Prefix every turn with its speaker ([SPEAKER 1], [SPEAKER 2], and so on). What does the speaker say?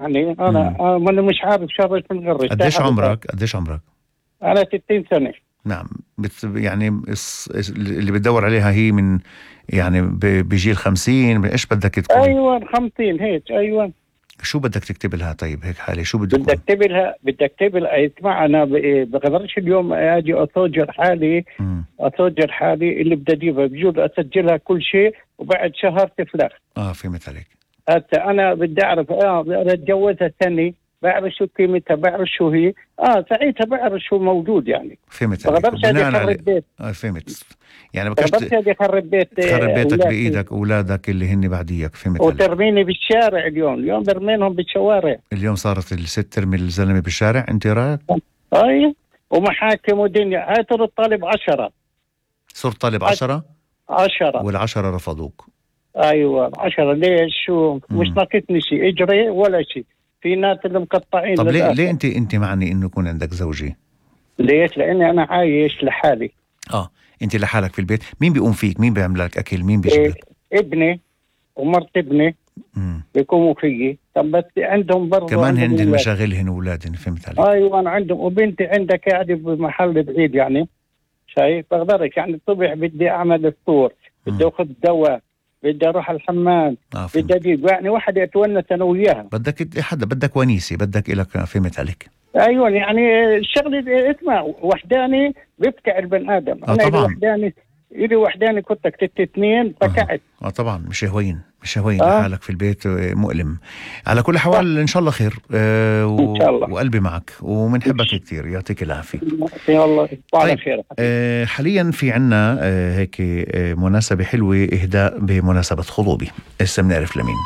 [SPEAKER 1] يعني أنا مش عارف شرش من غرش.
[SPEAKER 2] قديش عمرك؟
[SPEAKER 1] أنا 60 سنة.
[SPEAKER 2] نعم. يعني اللي بتدور عليها هي من يعني بجيل 50. إيش بدك تكون؟
[SPEAKER 1] أيوة 50 هيك. أيوة.
[SPEAKER 2] شو بدك تكتب لها طيب هيك حالي؟ شو بدك
[SPEAKER 1] بدك أكتب لها اسمع، أنا بقدرش اليوم أجي أسجل حالي اللي بدي أجيبها، بجوز أسجلها كل شيء وبعد شهر تفلخ.
[SPEAKER 2] فهمت عليك.
[SPEAKER 1] حتى أنا بدي أعرف بدي أتجوزها سنة، بعرف شو قيمتها، بعرف شو هي، ساعتها بعرف شو موجود يعني.
[SPEAKER 2] فهمت عليك.
[SPEAKER 1] بقدرش أجي أخرب بيت.
[SPEAKER 2] فهمت. يعني
[SPEAKER 1] بقدرش أجي أخرب
[SPEAKER 2] بيتك بإيدك أولادك اللي هن بعديك. فهمت عليك.
[SPEAKER 1] وترميني بالشارع اليوم برمينهم بالشوارع.
[SPEAKER 2] اليوم صارت الست ترمي الزلمة بالشارع. أنت رأيك؟
[SPEAKER 1] أي ومحاكم ودنيا. هاي صرت طالب 10.
[SPEAKER 2] صرت طالب 10 وال10 رفضوك.
[SPEAKER 1] أيوة 10. ليش؟ شو مش ناقصني شيء اجري ولا شيء. في ناس اللي مقطعين.
[SPEAKER 2] طب ليه انت معني انه يكون عندك زوجي؟
[SPEAKER 1] ليش؟ لاني انا عايش لحالي.
[SPEAKER 2] انت لحالك في البيت. مين بيقوم فيك؟ مين بيعمل لك اكل؟ مين بيجيب لك؟
[SPEAKER 1] ابني ومرت ابني بيقوموا فيي. طب بس عندهم برضه
[SPEAKER 2] كمان هن مشاغلهن واولادهن. فهمت عليك.
[SPEAKER 1] ايوه انا عندهم. وبنتي عندها قاعده بمحل بعيد يعني. شايف؟ بقدرش يعني الصبح بدي اعمل الفطور، بدي اخذ دواء، بدي اروح الحمام، بدي اجيب يعني واحد اتونس انا وياها.
[SPEAKER 2] بدك ونيسه، بدك إلك. فهمت عليك.
[SPEAKER 1] ايوه يعني الشغله اسمع وحداني بيبكع البن ادم. انا
[SPEAKER 2] طبعا
[SPEAKER 1] إلي وحداني كنت كتبت 2 بكعت.
[SPEAKER 2] طبعا مش هوين لحالك في البيت. مؤلم. على كل حوال ان شاء الله خير.
[SPEAKER 1] ان شاء الله.
[SPEAKER 2] وقلبي معك ومنحبك كثير. يعطيك العافيه.
[SPEAKER 1] يلا
[SPEAKER 2] طيب. خير. حاليا في عنا هيك مناسبه حلوه، اهداء بمناسبه خطوبه. هسه بنعرف لمين.